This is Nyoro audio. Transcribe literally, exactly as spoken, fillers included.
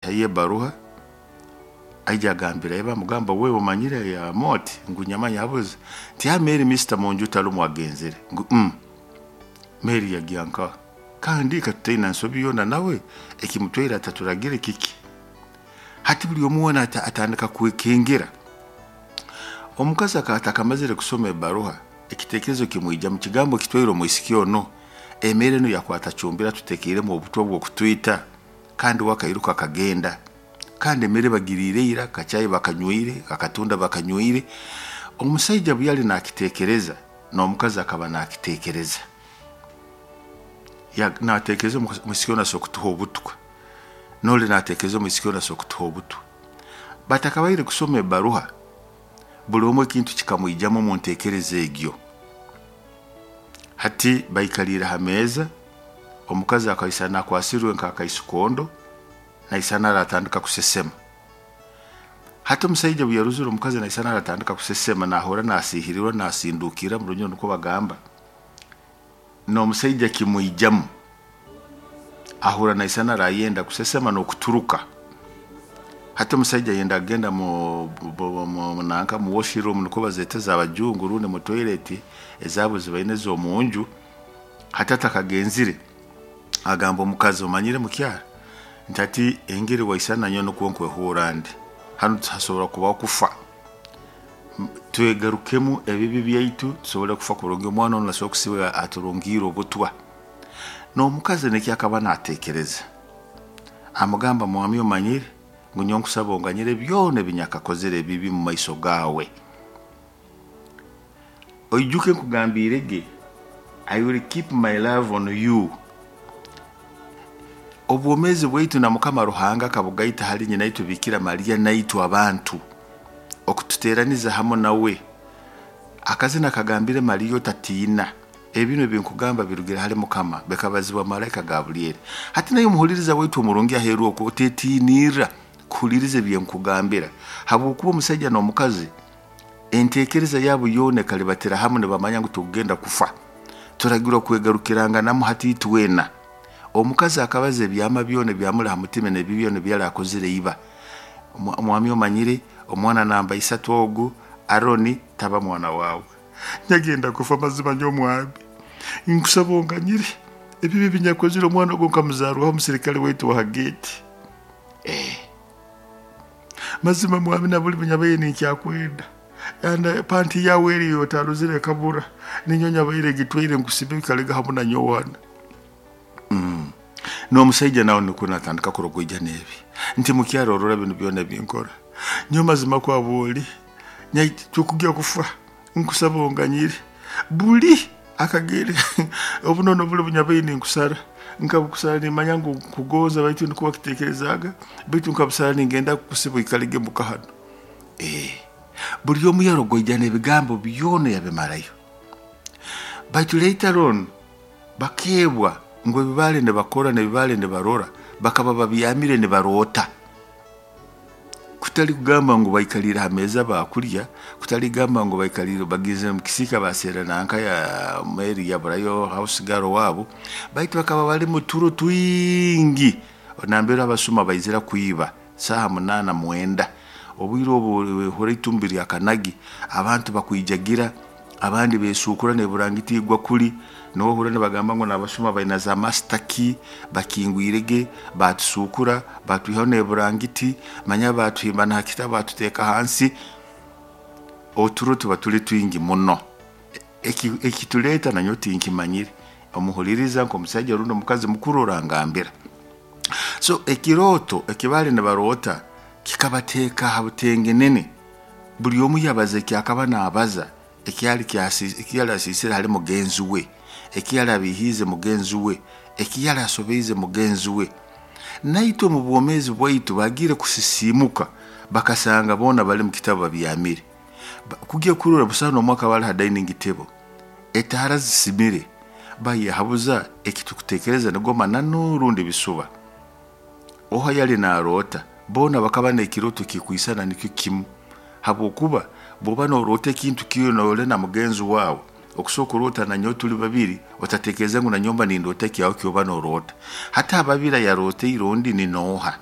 Tayo ebaruha, aija agambira iba, amugamba, "Wewe omanyire ya moti?" Ngu, "Nyamanya." Habuze nti ha Mary mister munju talumu agenzere. Ngu mm. Mary yagiya nka kandi katutaina nsobi yona nawe ekimutwaire ataturagire kiki. Hati buli omu wena ata- atandika kwekengera. Omukazi akaba atakamazire kusoma ebaruha, ekitekerezo kimwija mu kigambo kitwaire omwisiki ono emere eno yakwata cumbira tutekeiremu obutwa bw'okutwita, kandi wakairuka akagenda, kandi emere bagiriire ira, kachayi bakanywire, akatunda bakanywire. Omusaija bwe yali nakitekereza, n'omukazi akaba nakitekereza, Ya- natekereza omwisiki ono asobora kutuha obutwa, noli natekereza omwisiki ono asobora kutuha obutwa. Batakabaire kusoma ebaruha, buli omu ekintu kikamwijamu omu ntekereza egyo. Hati baikaliire ha meeza, omukazi akaisana akwasirwe nk'akaisikondo, naisana aratandika kusesema. Hati omusaija bwe yarozire omukazi naisana aratandika kusesema, nahura nasiihirirwa, nasindukira mu Runyoro nukwo bagamba, n'omusaija kimwijamu, ahura naisana arayenda kusesema n'okuturuka. Hati omusaija yenda agenda mu, mu, mu, nanka mu washroom nukwo bazeta z'abajungu, rundi mu toilet ezaabo zibaine ez'omunju. Hati atakagenzire agamba omukazi, "Omanyire mukyara," nti, "ati engeri waisana nyowe nukwo nkwehurra ndi hanu, hasobora kubaho kufa. Twegarukemu ebibi byaitu tusobole kufa kurungi. Omwana ono asobora kusiba aturungiire obutwa." N'omukazi nikyo akaba natekereza, amugamba, "Mwami, omanyire ngu nyowe nkusaba onganyire byona ebinyakakozere ebibi mu maiso gaawe. Oijuke nkugambiire ge, I will keep my love on you." Obwomeezi bwaitu na Mukama Ruhanga akabugaita hali nyina itwe Bikira Mariya naitwe abantu okututeraniza hamu nawe. Akazina kagambire Mariya, "Otatiina, ebino ebinkugamba birugire hali Mukama," bikabazibwa malaika Gabulyeri. Hati naye omuhuliriza waitu omurungi aheeru okwo, otetinirra kuhuliriza ebyenkugambira, habwokuba omusaija n'omukazi entekereza yabo yoona ekalibatira hamu, nibamanya ngu tukugenda kufa, turagirwa kwegarukiranganamu. Hati itwena omukazi akabaza ebyama byona ebyamuli ha mutima n'ebi byona ebyali akozire iba. "Mwami, omanyire omwana namba isatu ogu Aroni taba mwana wawe, nyagenda kufa. Mazima nyo mwami nkusaba onganyire ebibi binyakozire, omwana ogwo nkamuzarwaho omusirikale waitu wa gate. Eh. Mazima mwami, na buli bunyabaire ninkyakwenda anda panti yawe eriyo otaruzire kabura, ninyo nyabaire gitwaire nkusibe bikalega hamu na nyowana." mm. N'omusaija nawe nikwo natandika kurogoija n'ebi nti, "Mukyaro, orora bino byona binkora nyo, mazima kwabwoli tukugya kufa, nkusaba onganyire buli akagere obunono buli bunyabaire ninkusara, nkabukusara nimanya ngu nkugonza, baitu nikuba wakitekerezaga, baitu nkabusara ningenda kukusiba ikalege muka hano." Eh, buli omu yarogoija n'ebigambo byona yabimarayo. Baitu later on bakebwa ngu ebibaale nibakora n'ebibaale nibarora bakaba babyamire nibaroota, kutali kugamba ngu baikalire ha meeza bakulya, kutali kugamba ngu baikalire bagizire mu kisika baseera nanka ya Mary yaburayo house girl wabo, baitu bakaba bali mu turo twingi nambere abasuma baizira kwiba saaha munaana mwenda. Obwire obu hura itumbi lya kanagi, abantu bakwijagira, abandi besukura neburangiti igwa kuli nohura nibagamba ngu nabasuma baina za master key, bakingwirege batusukura, batwihaho neburangiti, manya batuhimba na hakitabu, batuteeka hansi. Oturo tuba tuli twingi muno. Ekituleeta nanyo tinkimanyire, omuhuliriza nk'omusaija rundi omukazi mukuru orangambira. So ekirooto ekibali nibaroota kikabateeka ha butengenene, buli omu yabaza ekyakaba naabaza, ekyali ekyali asiisire hali mugenzi we, ekiyali abihiize mugenzi we, ekiyali asobeize mugenzi we. Naitwe mu bwomeezi bwaitu bagiire kusisiimuka bakasanga boona bali mu kitabu babyamire. Kugya kurora busaho n'omwaka bali ha dining table, etaara zisimire, bayehabuza ekitukutekereza nigo mananu rundi bisuba. Oha yali naroota, boona bakaba n'ekiroto kikwisana nikyo kimu, habwokuba bwoba noroota ekintu kyona ole na mugenzi wawe, okusobola kuroota nanyowe tuli babiri, otatekereza ngu nanyomba nindoota ekyawe kyoba noroota. Hati ababiri ayaroteire ondi ni nooha?